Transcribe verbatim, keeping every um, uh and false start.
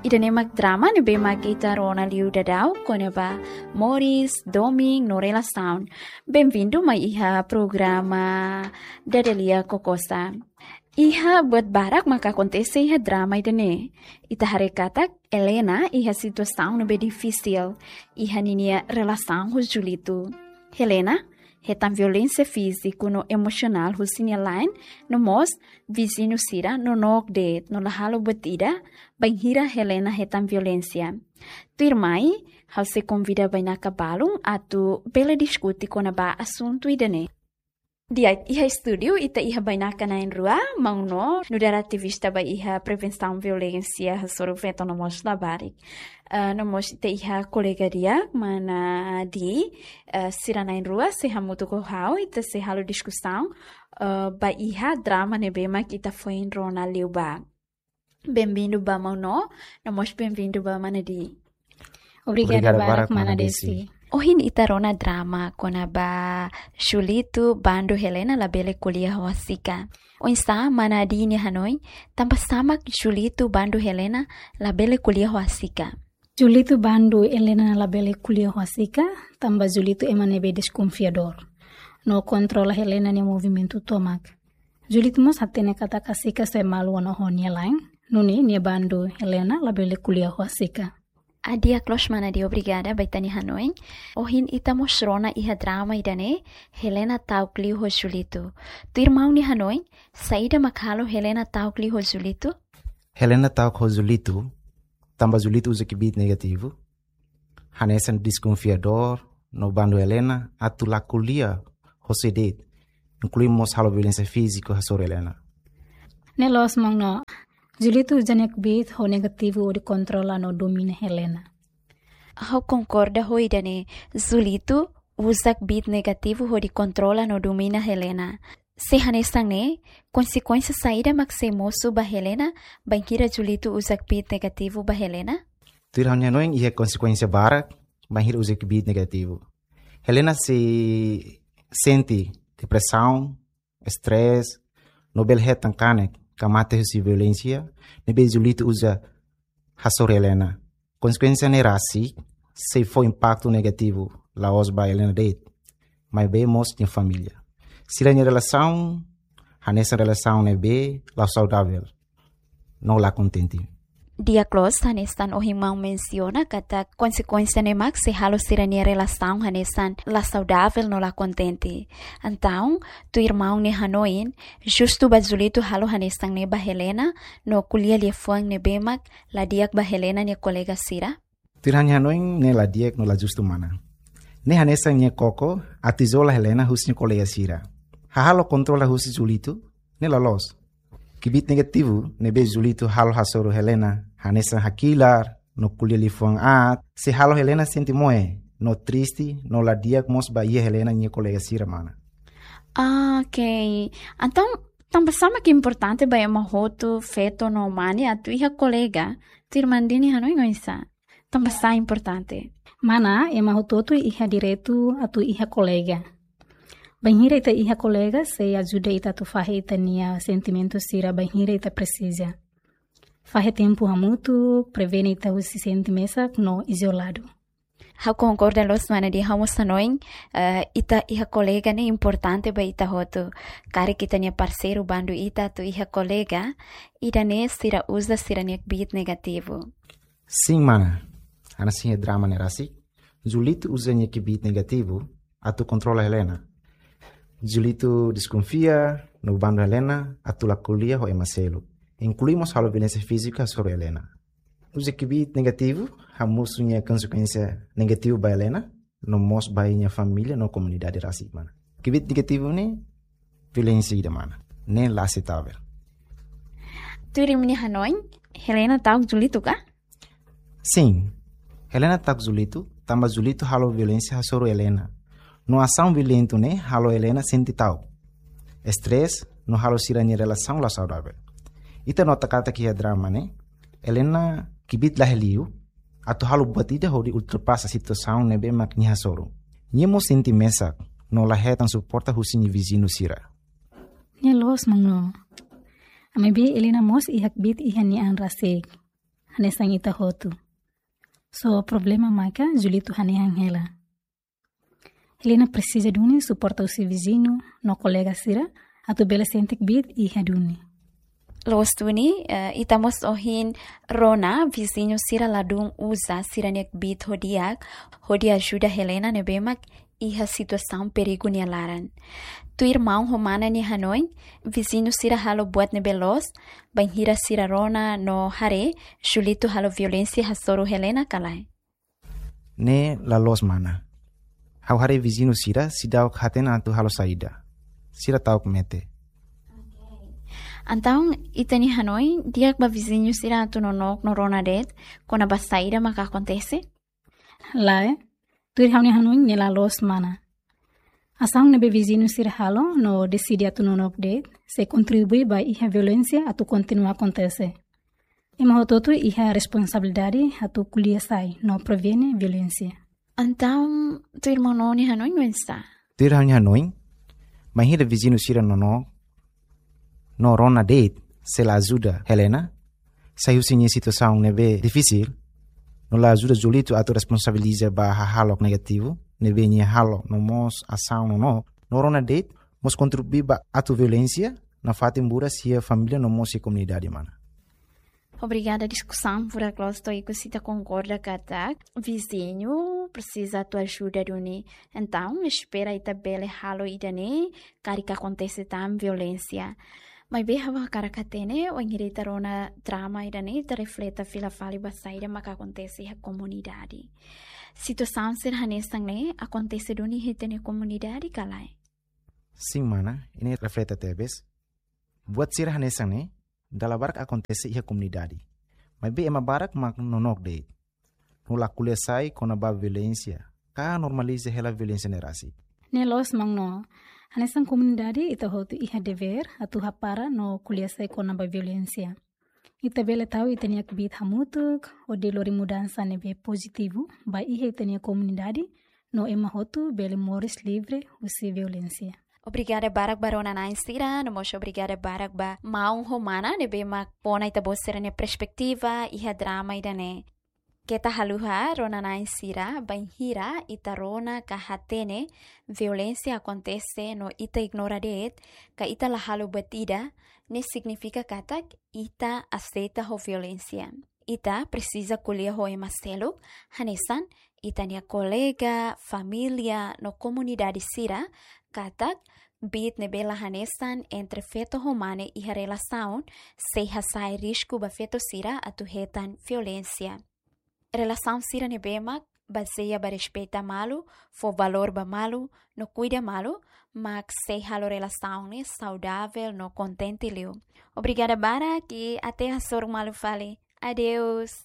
Ida-ne'e mak drama ne'ebé mak ita rona liu daudaun kona-ba moris, domin no relasaun. Benvindu mai iha programa Dadalia Kokosa. Iha buat barak maka akontese iha drama ida-ne'e. Ita haree katak Helena iha situasaun ne'ebé difisil iha ninia relasaun ho Julito. Helena hetan violénsia fíziku no emosionál husi nia la'en, no mós viziñu sira nonook de'it no la halo buat ida bainhira Helena hetan violénsia. Tuirmai, ha'u sei konvida bainaka balun atu bele diskute kona-ba asuntu ida-ne'e. Di'ak, iha estúdiu ita iha bainaka na'in-rua, maun No, nu'udar ativista ba iha prevensaun violénsia hasoru feto no mós labarik. Ah, no mós ita iha kolega di'ak, mana Di, ah, sira na'in-rua sei hamutuk ho ha'u, ita sei halo diskusaun, ah, ba iha drama ne'ebé mak ita foin rona liubá. Benvindu ba maun No, no mós benvindu ba mana Di. Obrigada. Obrigada barak, barak, mana Desi. Ohin ita rona drama kona-ba Julito bandu Helena labele ko'alia ho Asika. Oinsá mana Di nia hanoin, tanbasá mak Julito bandu Helena labele ko'alia ho Asika? Julito bandu Helena labele ko'alia ho Asika, tanba Julito ema ne'ebé deskonfiadór no kontrola Helena nia movimentu tomak. Julito mós hatene katak Asika sei malu ona ho nia la'en, nune'e nia bandu Helena labele ko'alia ho Asika. Ah, di'ak loos mana Di, obrigada ba ita-nia hanoin. Ohin ita mós rona iha drama ida-ne'e, Helena ta'uk liu ho Julito. Tuir maun nia hanoin, saida mak halo Helena ta'uk liu ho Julito? Helena ta'uk ho Julito, tanba Julito uza kbiit negativu, hanesan deskonfiadór, no bandu Helena atu la ko'alia ho sé de'it, inklui mós halo violénsia fíziku hasoru Helena. Ne'e loos maun No, Julito uza nia kbiit ho negativu hodi kontrola no domina Helena. Ha'u konkorda ho ida-ne'e, Julito uza kbiit negativu hodi kontrola no domina Helena. Se hanesan ne'e, konsekuénsia saida mak sei mosu ba Helena, bainhira Julito uza kbiit negativu ba Helena? Tuir ha'u-nia hanoin iha konsekuénsia barak bainhira uza kbiit negativu. Helena sei sente depresaun, estrés, no bele hetan kanek ka mate husi violénsia ne'ebé Julito uza hasoru Helena. Konsekuénsia ne'e rasik sei fó impaktu negativu la'ós ba Helena de'it, maibé mós nia família. Sira-nia relasaun hanesan relasaun ne'ebé la saudavel no la kontente. Di'ak loos, hanesan ohin maun mensiona katak konsekuénsia ne'e mak sei halo sira-nia relasaun hanesan la saudavel no la kontente. Entaun, tuir maun nia hanoin, justu ba Julito halo hanesan ne'e ba Helena, no ko'alia liafuan ne'ebé mak la di'ak ba Helena nia kolega sira? Tuir ha'u-nia hanoin ne'e la di'ak no la justu mana. Ne'e hanesan nia koko atu izola Helena husi nia kolega sira. Hahalok kontrola husi Julito ne'e la loos. Kbiit negativu ne'ebé Julito halo hasoru Helena, hanesan hakilar no ko'alia liafuan aat, sei halo Helena sente moe no triste no la di'ak mós ba iha Helena nia kolega sira mana. Ah, ok. Entaun, tanbasá mak importante ba ema hotu, feto no mane atu iha kolega? Tuir maun Di nia hanoin oinsá? Tanbasá importante? Mana, ema hotu-hotu iha direitu atu iha kolega. Bainhira ita iha kolega, sei ajuda ita atu fahe ita-nia sentimentu sira bainhira ita presiza. Fahe tempu hamutuk, prevene ita husi sente mesak no izoladu. Ha'u konkorda loos mana Di, ha'u mós hanoin, eh, ita iha kolega ne'e importante ba ita hotu. Karik ita-nia parseiru bandu ita atu iha kolega, ida-ne'e sira uza sira-nia kbiit negativu. Sin mana, hanesan iha drama ne'e rasik, Julito uza nia kbiit negativu atu kontrola Helena. Julito deskonfia no bandu Helena atu la ko'alia ho ema seluk, inklui mós halo violénsia fíziku hasoru Helena. Uza kbiit negativu hamosu nia konsekuénsia negativu ba Helena, no mós ba nia família no komunidade rasik mana. Kbiit negativu ne'e violénsia ida mana. Ne'e la aseitavel. Tuir imi-nia hanoin, Helena ta'uk Julito ka? Sin. Helena ta'uk Julito, tanba Julito halo violénsia hasoru Helena. No asaun violentu ne'e halo Helena sente ta'uk, estrés, no halo sira-nia relasaun la saudavel. Ita nota katak iha drama ne'e, Helena kbiit la iha liu atu halo buat ida hodi ultrapasa situasaun ne'ebé mak nia hasoru. Nia mós sente mesak no la hetan suporta husi nia viziñu sira. Ne'e loos maun No. Maibé Helena mós iha kbiit iha nia an rasik. hanesan ita hotu. Só problema maka Julito hanehan hela. Helena presiza duni suporta husi viziñu no kolega sira atu bele sente kbiit iha duni. Loos duni, eh, ita mós ohin rona viziñu sira ladún uza sira-nia kbiit ho di'ak, hodi ajuda Helena ne'ebé mak iha situasaun perigu nia laran. Tuir maun ho mana nia hanoin, viziñu sira halo buat ne'ebé loos, bainhira sira rona no haree Julito halo violénsia hasoru Helena ka lae? Ne'e la loos mana. Ha'u haree viziñu sira seidauk hatene atu halo saida. Sira ta'uk mete. Entaun, ita-nia hanoin, di'ak ba viziñu sira atu nonook no rona de'it, kona-ba saida maka akontese? Lae, tuir ha'u-nia hanoin ne'e la loos mana. Asaun ne'ebé viziñu sira halo no deside atu nonook de'it, sei kontribui ba iha violénsia atu kontinua akontese. Ema hotu-hotu iha responsabilidade atu ko'alia sai no prevene violénsia. Entaun, tuir maun nia hanoin oinsá? Tuir ha'u-nia hanoin, bainhira viziñu sira nonook no rona de'it, sei la ajuda Helena sai husi nia situasaun ne'ebé difisil, no la ajuda Julito atu responsabiliza ba hahalok negativu ne'ebé nia halo no mós asaun nonook, no rona de'it mós kontribui ba atu violénsia nafatin buras iha família no mós iha komunidade mana. Obrigada diskusaun, furak loos to'o ikus ita konkorda katak viziñu presiza atu ajuda duni. Entaun, espera ita bele halo ida-ne'e, karik akontese tan violénsia. Maibé ha'u hakarak hatene, wainhira ita rona drama ida-ne'e, ita refleta fila fali ba saida maka akontese iha komunidade. Situasaun sira hanesan ne'e akontese duni iha ita-nia komunidade ka lae? Sin mana, ita refleta tebes. Buat sira hanesan ne'e dala barak akontese iha komunidade. Maibé ema barak mak nonook de'it, no la ko'alia sai kona-ba violénsia, ka normaliza hela violénsia ne'e rasik. Ne'e loos maun. Hanesan komunidade ita hotu iha devér atu hapara no ko'alia sai kona-ba violénsia. Ita bele tau ita-nia kbiit hamutuk hodi lori mudansa ne'ebé pozitivu ba iha ita-nia komunidade, no ema hotu bele moris livre husi violénsia. Obrigada barak ba rona-na'in sira, no mós obrigada barak ba maun ho mana ne'ebé mak fó ona ita-boot sira-nia perspetiva iha drama ida-ne'e. Keta haluha rona-na'in sira, bainhira ita rona ka hatene violénsia akontese no ita ignora de'it, ka ita la halo buat ida, ne'e signifika katak ita aseita ho violénsia. Ita presiza ko'alia ho ema seluk, hanesan ita-nia kolega, família no komunidade sira, katak kbiit ne'ebé la hanesan entre feto ho mane iha relasaun sei hasa'e risku ba feto sira atu hetan violénsia. Relasaun sira ne'ebé mak bazeia ba respeita malu, fó valór ba malu, no kuida malu, mak sei halo relasaun ne'e saudavel no kontente liu. Obrigada barak i até hasoru malu fali. Adeus.